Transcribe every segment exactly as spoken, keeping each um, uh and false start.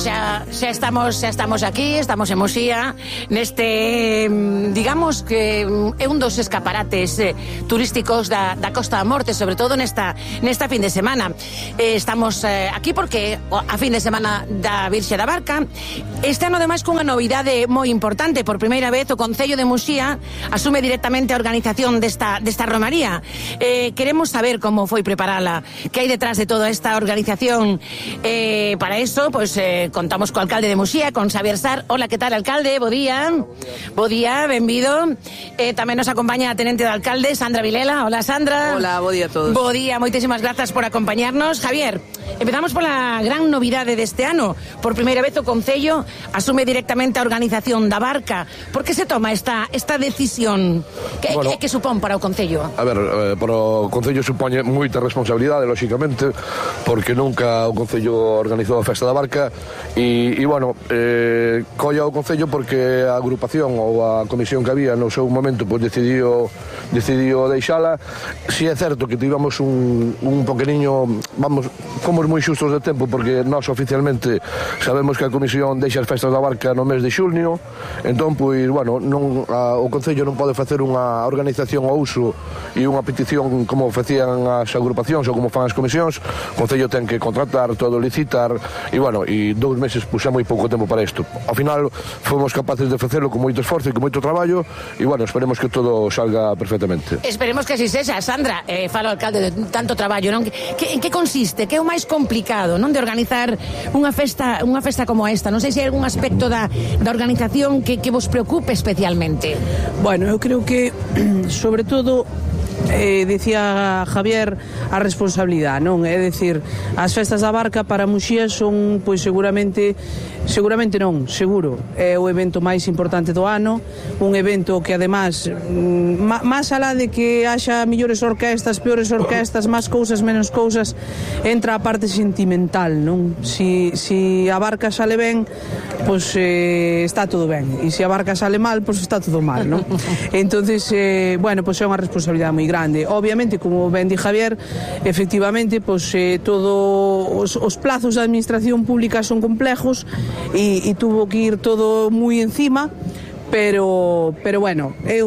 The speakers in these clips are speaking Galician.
Xa, xa estamos xa estamos aquí, estamos en Muxía, neste, digamos que é un dos escaparates eh, turísticos da, da Costa da Morte, sobre todo nesta nesta fin de semana. Eh, estamos eh, aquí porque a fin de semana da Virxe da Barca. Este ano, ademais, cunha novidade moi importante. Por primeira vez o Concello de Muxía asume directamente a organización desta, desta romaría. Eh, queremos saber como foi preparala, que hai detrás de toda esta organización. Eh, para eso, pues, eh, contamos co alcalde de Muxía, con Xavier Sar. Hola, que tal, alcalde? Bo día. Bo día, benvido. Eh, tamén nos acompaña a tenente do alcalde, Sandra Vilela. Hola, Sandra. Hola, bo día a todos. Bo día, moitísimas grazas por acompañarnos. Javier, empezamos pola gran novidade deste ano. Por primeira vez o Concello asume directamente a organización da Barca. Por que se toma esta esta decisión? Que, bueno, que, que supón para o Concello? A ver, eh, para o Concello supone moita responsabilidade, lóxicamente, porque nunca o Concello organizou a Festa da Barca. E, e bueno, eh, colla o Concello porque a agrupación ou a comisión que había no seu momento pues, decidiu, decidiu deixala. Si é certo que tivamos un, un pequeniño, vamos, fomos moi xustos de tempo porque nós oficialmente sabemos que a comisión deixa as festas da Barca no mes de xulnio, entón, pois, bueno, non, a, o Concello non pode facer unha organización ao uso e unha petición como facían as agrupacións ou como fan as comisións. O Concello ten que contratar, todo licitar, e, bueno, e dous meses puxa moi pouco tempo para isto. Ao final fomos capaces de facelo con moito esforzo e con moito traballo e, bueno, esperemos que todo salga perfectamente. Esperemos que así sexa. Sandra, eh, falo alcalde de tanto traballo, non? Que, en que consiste? Que é o máis complicado, non, de organizar unha festa unha festa como esta? Non sei se hai algún aspecto da, da organización que, que vos preocupe especialmente. Bueno, eu creo que sobre todo Eh, decía Javier, a responsabilidade, non? É dicir, as festas da Barca para Muxía son, pois seguramente seguramente non, seguro é o evento máis importante do ano, un evento que además máis alá de que haxa millores orquestas, peores orquestas, máis cousas, menos cousas, entra a parte sentimental, non? Si, si a Barca sale ben, pois eh, está todo ben, e se a Barca sale mal, pois está todo mal, non? Entonces, eh, bueno, pois é unha responsabilidade moi grande. Obviamente, como ben di Javier, efectivamente, pois eh, todo os, os plazos da administración pública son complejos e, e tuvo que ir todo moi encima, pero pero bueno, eu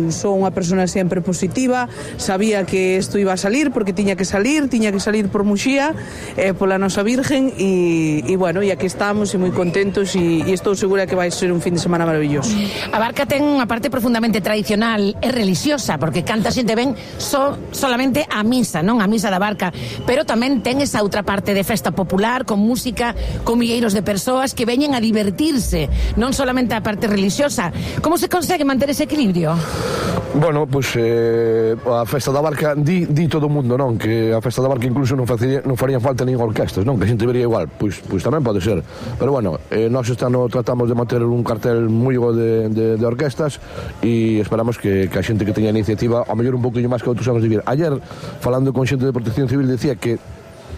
son unha persona sempre positiva, sabía que isto iba a salir porque tiña que salir, tiña que salir por Muxía, eh, pola nosa Virgen e, e bueno, e aquí estamos e moi contentos e, e estou segura que vai ser un fin de semana maravilloso. A Barca ten unha parte profundamente tradicional e religiosa, porque canta xente ben só solamente a misa, non? A misa da Barca, pero tamén ten esa outra parte de festa popular, con música, con milleiros de persoas que veñen a divertirse, non solamente a parte religiosa. Como se consegue manter ese equilibrio? Bueno, pois pues, eh, a Festa da Barca di, di todo o mundo, non? Que a Festa da Barca incluso non, facía, non farían falta nin orquestas, non? Que a xente vería igual, pois, pois tamén pode ser. Pero bueno, eh, nós este ano tratamos de manter un cartel moi bo de, de, de orquestas e esperamos que, que a xente que teña iniciativa, ao mellor un pouquinho máis que outros anos de vir. Ayer, falando con xente de Protección Civil, decía que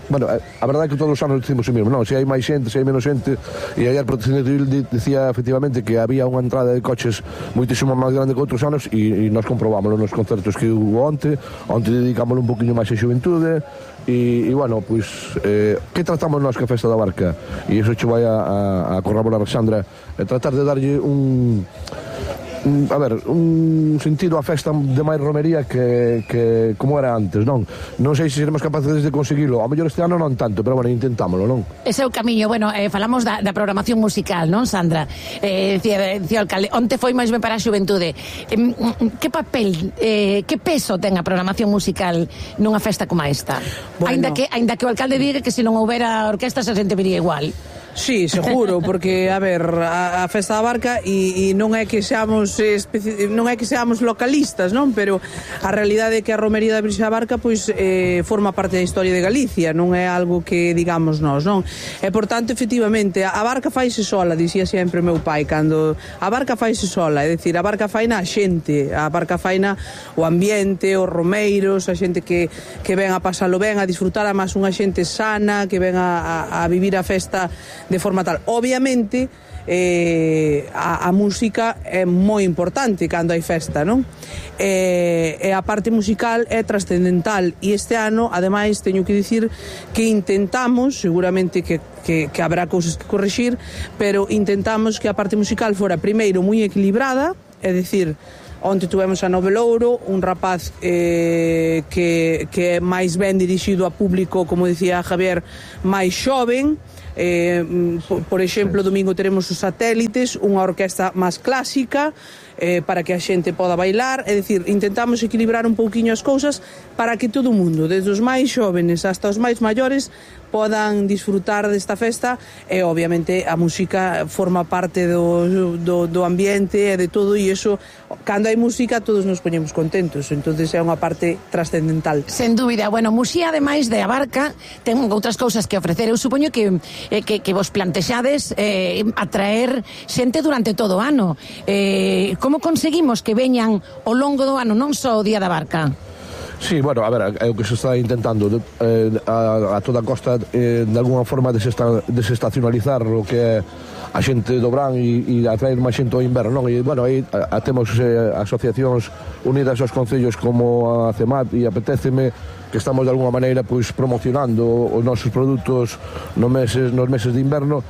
bueno, a verdade é que todos os anos decimos o mesmo, non? Se hai máis xente, se hai menos xente, e ayer Protección Civil dicía efectivamente que había unha entrada de coches moitísimo máis grande que outros anos e, e nos comprobámoslo nos concertos que hubo onte, onte dedicámoslo un poquinho máis a xuventude e, e bueno, pois eh, que tratamos nós que a Festa da Barca? E iso che vai a, a, a corroborar Sandra, e tratar de darlle un a ver, un sentido á festa de máis romería que, que como era antes, non? Non sei se seremos capaces de conseguilo. Ao mellor este ano non tanto, pero bueno, intentámoslo, non? Ese é o camiño. Bueno, eh, falamos da, da programación musical, non, Sandra? Eh, decía, decía o alcalde, onte foi máis ben para a xuventude. Eh, que papel, eh, que peso ten a programación musical nunha festa como esta? Bueno. Ainda que, ainda que o alcalde diga que se non houbera orquestas a xente viría igual. Sí, seguro, porque, a ver, a, a Festa da Barca e, e non é que seamos especi... non é que seamos localistas, non? Pero a realidade é que a romería da Virxe da Barca pois eh, forma parte da historia de Galicia, non é algo que digamos nós, non? E, por tanto, efectivamente, a Barca faise sola, dicía sempre meu pai, cando a Barca faise sola, é dicir, a Barca faina a xente, a Barca faina o ambiente, os romeiros, a xente que, que ven a pasalo ben, a disfrutar, a máis unha xente sana, que ven a, a, a vivir a festa de forma tal. Obviamente, eh, a, a música é moi importante cando hai festa, non? E, e a parte musical é trascendental, e este ano, ademais, teño que dicir que intentamos, seguramente que, que, que habrá cousas que corrixir, pero intentamos que a parte musical fora primeiro moi equilibrada, é dicir, onte tuvemos a Nove Louro, un rapaz eh, que, que é máis ben dirixido a público, como dicía Javier, máis xoven. Eh, por, por exemplo, domingo teremos os Satélites, unha orquesta máis clásica, eh, para que a xente poda bailar. É dicir, intentamos equilibrar un pouquiño as cousas para que todo o mundo, desde os máis xóvenes hasta os máis maiores, podan disfrutar desta festa. E obviamente a música forma parte do, do, do ambiente e de todo, e iso, cando hai música todos nos poñemos contentos, entonces é unha parte trascendental. Sen dúbida. Bueno, Muxía, ademais de a barca, ten outras cousas que ofrecer. Eu supoño que, eh, que, que vos plantexades eh, atraer xente durante todo o ano. Eh, como conseguimos que veñan ao longo do ano, non só o Día da Barca? Sí, bueno, a ver, é o que se está intentando eh, a, a toda a costa eh, de alguna forma desesta, desestacionalizar o que é a xente do verán e, e atraer máis xente ao inverno, non? E, bueno, aí a, a temos eh, asociacións unidas aos concellos como a CEMAT, e apetéceme que estamos de alguna maneira pois promocionando os nosos produtos nos meses, nos meses de inverno.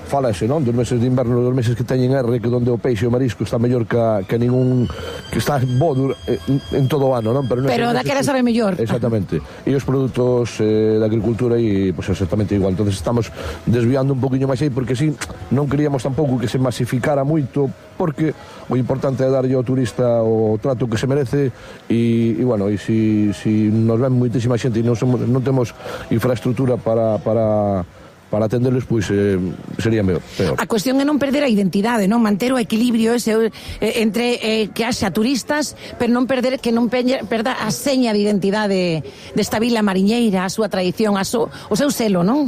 Falase, non? Dos meses de inverno, dos meses que teñen R, que donde o peixe e o marisco está mellor que, que ningún, que está bo en, en todo o ano, non? Pero, Pero daquela sabe mellor. Exactamente. E os produtos eh, da agricultura e, pois, pues, exactamente igual. Entonces estamos desviando un poquinho máis aí, porque si non queríamos tampouco que se masificara moito, porque o importante é darlle ao turista o trato que se merece, e, e bueno, e si, si nos ven moitísima xente e non, somos, non temos infraestructura para... para para atenderlos, pois eh, sería peor. A cuestión é non perder a identidade, non? Manter o equilibrio ese eh, entre eh, que haxa turistas, pero non perder, que non perda a seña de identidade desta vila mariñeira, a súa tradición, a su, o seu selo, non?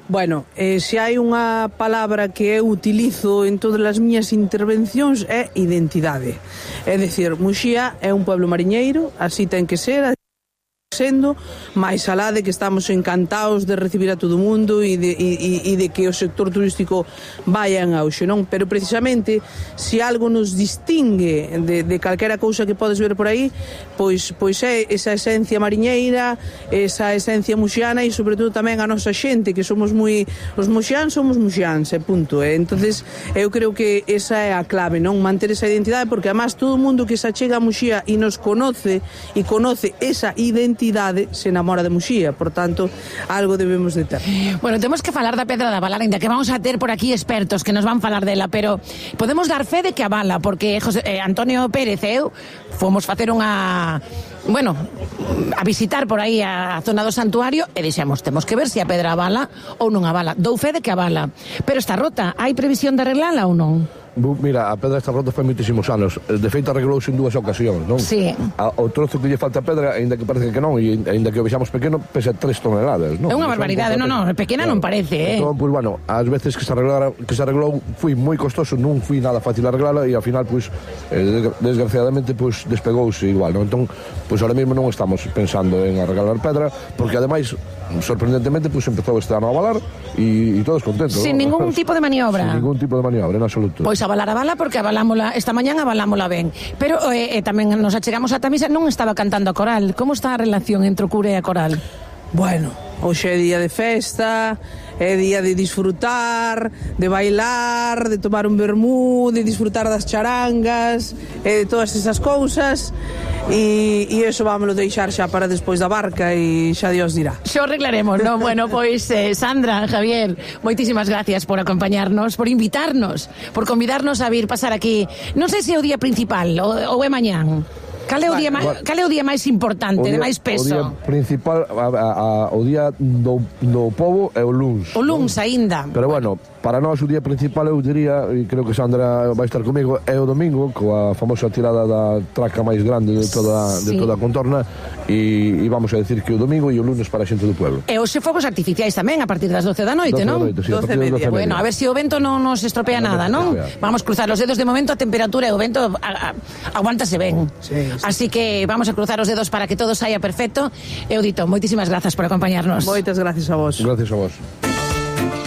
Bueno, eh, se hai unha palabra que eu utilizo en todas as miñas intervencións é identidade. É dicir, Muxía é un pueblo mariñeiro, así ten que ser, sendo, máis alá de que estamos encantados de recibir a todo o mundo e de, e, e de que o sector turístico vaya en auxe, non? Pero precisamente, se algo nos distingue de, de calquera cousa que podes ver por aí, pois, pois é esa esencia mariñeira, esa esencia muxiana, e sobre todo tamén a nosa xente, que somos moi... Os muxiáns somos muxiáns, e punto. E entonces eu creo que esa é a clave, non? Manter esa identidade, porque además todo o mundo que se achega a Muxía e nos conoce e conoce esa identidade se enamora de Muxía, por tanto, algo debemos de ter. Bueno, temos que falar da Pedra da Vala, ainda que vamos a ter por aquí expertos que nos van falar dela, pero podemos dar fe de que a vala, porque José, eh, Antonio Pérez e eu fomos facer unha... bueno, a visitar por aí a zona do santuario e dixemos, temos que ver se a pedra avala ou non avala. Dou fe de que avala, pero está rota, hai previsión de arreglala ou non? Mira, a pedra está rota fai moitísimos anos. De feito, arreglouse en dúas ocasións, non? Sí. A, o trozo que lle falta a pedra, aínda que parece que non, e aínda que o vexamos pequeno, pesa tres toneladas, non? É unha barbaridade, non, non, pequena non parece, eh? Entón, pois, bueno, ás veces que se arreglara, que se arreglou, foi moi costoso, non foi nada fácil arreglala, e ao final, pois, eh, desgraciadamente, pois, despegouse igual, non? Entón, pois, ahora mesmo non estamos pensando en arreglar pedra, porque, ademais, sorprendentemente, pois, empezou este ano a avalar, e, e todos contentos, sin ¿no? ningún tipo de maniobra. Sin ningún tipo de maniobra, en absoluto. Pois avalar a bala, porque avalámola, esta mañán avalámola ben. Pero eh, eh, tamén nos achegamos a Tamisa, non estaba cantando a coral. Como está a relación entre o cura e a coral? Bueno, hoxe é día de festa, é día de disfrutar, de bailar, de tomar un vermú, de disfrutar das charangas, e de todas esas cousas, e, e eso vámoslo deixar xa para despois da barca, e xa Dios dirá. Xo arreglaremos, non? Bueno, pois, eh, Sandra, Javier, moitísimas gracias por acompañarnos, por invitarnos, por convidarnos a vir pasar aquí. Non sei se é o día principal ou, ou é mañán. Cal é o día máis, cal é o día máis importante, día, de máis peso? O día principal, a, a, a, o día do, do pobo é o luns. O luns, non? Aínda. Pero bueno, para nós o día principal, eu diría, e creo que Sandra vai estar comigo, é o domingo, coa famosa tirada da traca máis grande de toda, sí. de toda a contorna, e, e vamos a decir que o domingo e o lunes para a xente do pueblo. E hoxe fogos artificiais tamén, a partir das doce da noite, non? doce da noite, sí, a partir das doce media. Bueno, a ver se si o vento non nos estropea no, nada, non? Vamos a cruzar os dedos, de momento a temperatura e o vento a, a, aguántase ben. Sí, sí. Así que vamos a cruzar os dedos para que todo saia perfecto. Eu dito, moitísimas grazas por acompañarnos. Moitas gracias a vos. Gracias a vos.